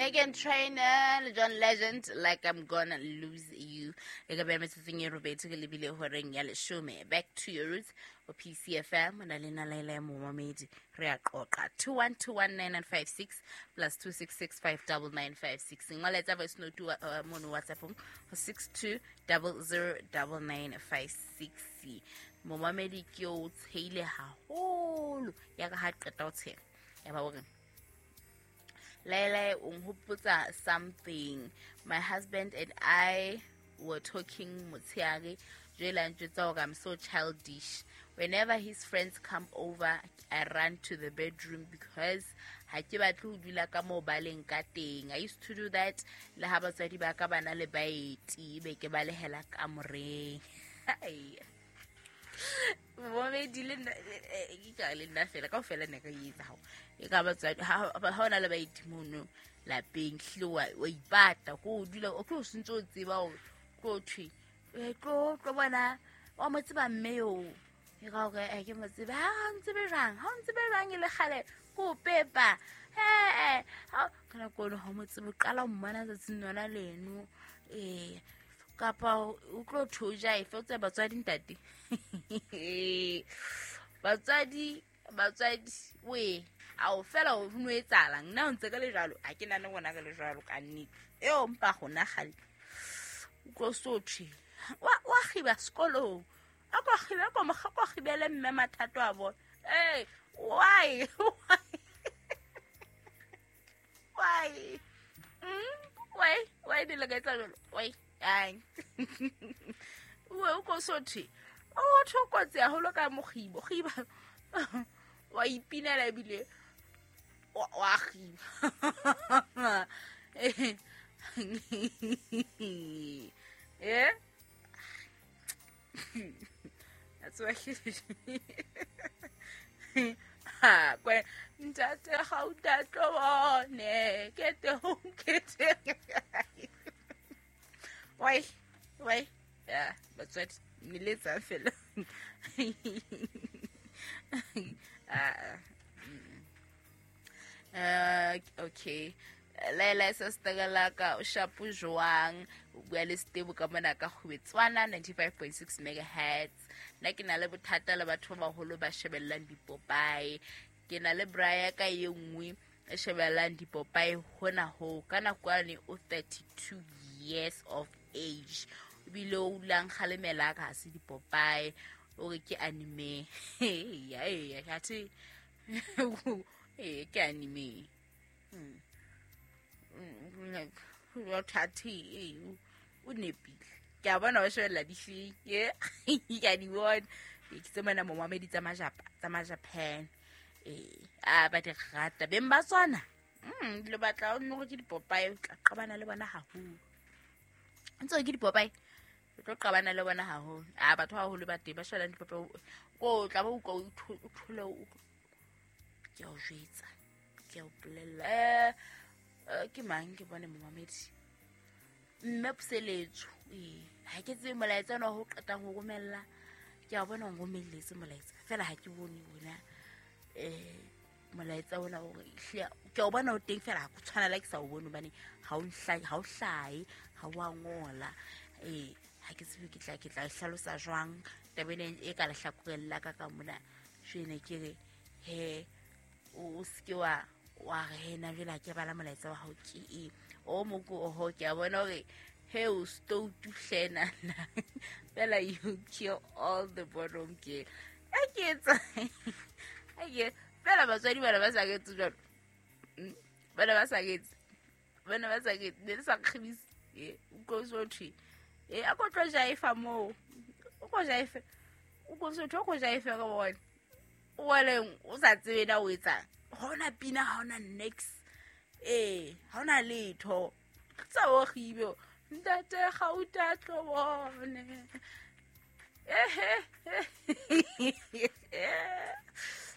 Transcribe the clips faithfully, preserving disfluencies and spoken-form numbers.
Megan Trainor le John Legend, "Like I'm Gonna Lose You". E ka beha metsotsong e robedi ke lebile horeng ya leshome. Back to Your Roots o P C F M, o na le nalaela ya momamedi, re a qoqa. Two one two one nine nine five six plus two six six five double nine five six. Ngola voice note uh, mono WhatsAppong ho six two double zero double nine five six. Momamedi ke o tsheile haholo ya ka ha qeta ho tsheha ya ba hore Laila, o nhopotsa something. My husband and I were talking motsheare, jwale a njwetsa hore I'm so childish. Whenever his friends come over, I run to the bedroom because ha ke batle ho dula ka moo ba leng ka teng. I used to do that le ha batswadi ba ka ba na le baeti, be ke balehela kamoreng. Hai. Momamedi le nna, eh, eh, ke ka le nna fela kaofela ne ka e etsa hao e ka batswadi ha ha o na le baeti mono lapeng, hlile wa wa ipata ko o dula o tlo o sentse o tseba hore tlo thwe eh, tlo tlo bona wa mo tseba mme eo e ka hore eh, ke mo tsebe ha ha o ntsebe jwang, ha o ntsebe jwang e le kgale ko o pepa he ha ka nako eno ha o mo tsebe, o qala ho mmona tsatsing lona leno ee, kapa o tlo thwe o jaefe o tsebe batswadi ntate batswadi batswadi we ao fela o no etsahalang nna o ntse ka le jwalo ha ke nane rona re le jwalo ka nnete eo mpa gona gale o tlo so thwe wa wa kgiba sekolong a ko kgibe ko mo ko kgibele mme mathato a bona. Ee, why why why mm? why why di le ka etsa jwalo? Why ai o o ko so thwe o thwe o kotsi haholo ka mokgibo kgiba wa ipinela ebile wa wa kgiba eh. That's why ha kwe ntate ga o tatlo bone ke te ho ke te why why yeah, batswadi niletsa fela. Ah, uh, okay, Laila sa o shapo jwang? O bua le Setebo ka mona ka Kgwetswana ninety-five point six megahertz. Nna ke na le bothata le batho ba baholo ba shebellang dipopae. Ke na le bra ka e nngwe e shebellang dipopae hona ho ka nako yane o thirty-two years of age, ebile o dulang kgalemela ka ha se dipopae, o re ke anime. Eya eya, athe ee, ke anime. Mm. Thathe ee, o nepile, ke a bona wa shebella difeng ye ke a di bona. Ke tse mona momamedi tsa majapa tsa majapan ee, a ba di rata beng ba tsona. Mm, le batla o nne gore ke dipopae, o tla qabana le bona haholo ntse ke dipopae, o tlo qabana le bona haholo. A batho ba baholo ba teng ba shebellang dipopae ko o tla ba utlwa o thole o ke a o jwetsa, ke a o bolella. eh eh, ke mang ke bone momamedi mme Puseletso ee, ha ke tsebe molaetsa ona ho qetang ho romella, ke a bona o nromelletse molaetsa fela ha ke bone ona um molaetsa ona hore ehlile ke a o bona o teng fela ha ko tshwana le ha ke sa o bone hobane ha o nhlahe, ha o hlahe, ha o a ngola. Ee, ha ke tsebe ke tla ke tla e hlalosa jwang taba ena e ka lehlakoreng la ka ka mona. Jwene ke re he o o seke wa wa re he na jwale ha ke bala molaetsa wa hao ke eng o moko oho ke a bona hore he o stoutu hlenana fela you kill all the bottom girl a ke etsa a ke fela batswadi bana ba sa ketse jwalo. Mm, bana ba sa ketse bana ba sa ketse ne le sa kgibise e o ko so thwe e a ko tlo jaifa moo o ko jaife o ko so thwe o ko jaife ka bona o waleng o sa tsebe na o etsang ha ona pina, ha ona next ee, ha ona letho tsa o kgibe ntate gauta tlo bone ehe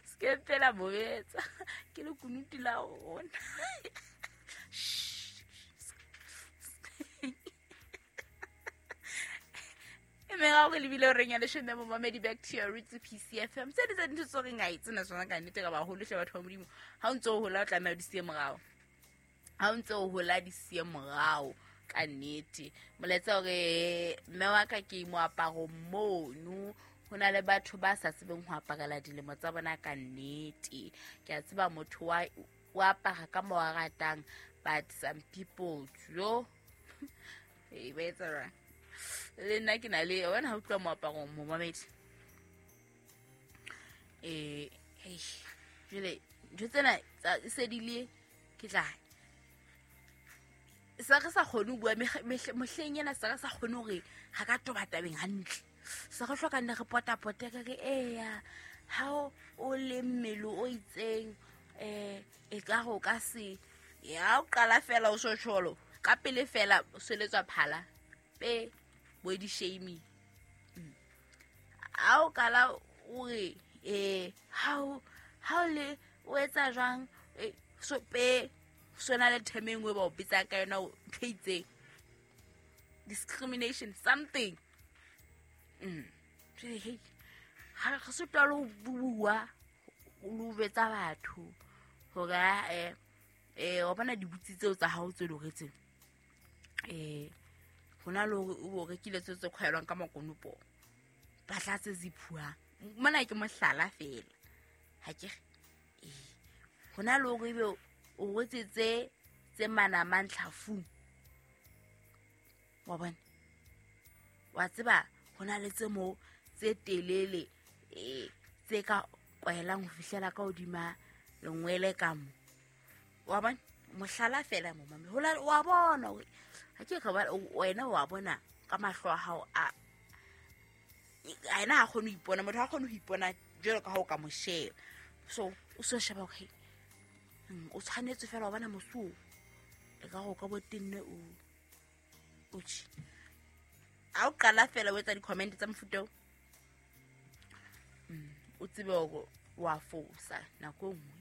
se fela bobetsa ke le kunuti la rona. E mme ga gore lebile horeng ya leshome, momamedi, Back to Your Roots, P C F M. Tse di tsa dintho tse goreng a e tsena tsona ka nnete ka baholo hle batho ba Modimo, ha o ntse o hola o tlameha o di siye morao. Ha o ntse o hola di siye morao ka nnete. Molaetsa hore mme wa ka ke moaparo mono, ho na le batho ba sa tsebeng ho aparela dilemo tsa bona ka nnete. Ke a tseba motho wa o apara ka mo a ratang, but some people jo e ba etsa jwang? Le nna ke na le wena ha o tloha moaparong momamedi. Eh, hei, jwale ntho tsena tsa se di le ke tla sa re sa kgone ho bua mehleng ena, sa re sa kgone hore ha ka toba tabeng hantle. Sa re hloka nne re potapote re re eya ha o le mmele o itseng eh e ka go ka se ya o qala fela o shotsholo ka pele fela o seletswa phala pe body shaming. A o kala o re eh ha o ha o le o etsa jwang so pe sona le term e nngwe ba o bitsang ka yona ntho e itseng, discrimination something. Mm hey, ha re sotwa le ho bua lo betsa batho hore eh eh wa bona dibutsi tseo tsa hao tse loretseng eh hona le hore o rekile tseo tse khwaelwang ka makonopo ba tla tse ziphuang mona ke mohlala fela ha ke eh hona le hore ebe o retse tse tse manamang tlhafung wa bona wa tseba hona le tse mo tse telele eh tse ka kwaelang ho fihlela ka hodima lengwele ka mo wa bona mohlala fela mo mame hola wa bona hore ha ke ka ba wena wa bona ka mahlo a hao a ena ha kgone ho ipona motho ha kgone ho ipona jwalo ka ha o ka mo sheba so o so sheba hore o tshwanetse fela wa bona mosu e ka go ka bo tenne o o tshi a o qala fela o etsa di-comment tsa mofuta o o tsebe hore wa fosa nako e nngwe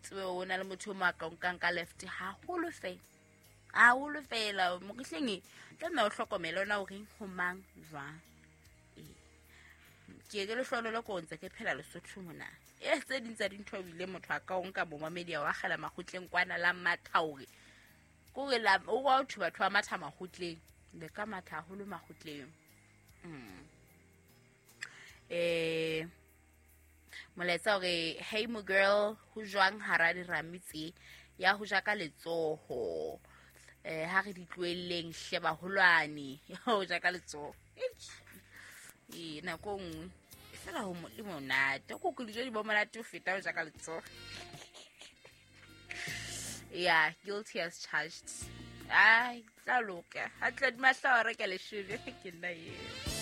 tsebe o na le motho o mo a ka nkang ka left haholo fela haholo fela mokihleng e tlameha o hlokomele ona o reng ho mang jwang. Ke ke lehlonolo ko ntse ke phela Lesotho mona e tse ding tsa dintho ebile motho a ka o nka momamedi wa kgela makgotleng kwana la matha hore kore la o wa batho batho ba matha makgotleng le ka matha haholo makgotleng. Mm. Eh molaetsa hore hey mo girl ho jwang hara dirame tse ya ho ja ka letsoho eh ha re di tlohelleng hle baholwane ho ja ka letsoho e nako nngwe fela ho le monate ko ke dijo di bo monate ho feta ho ja ka letsoho. Yeah, guilty as charged. Ai tla loka ha tla di mahla wa reka leshome ke nna eo.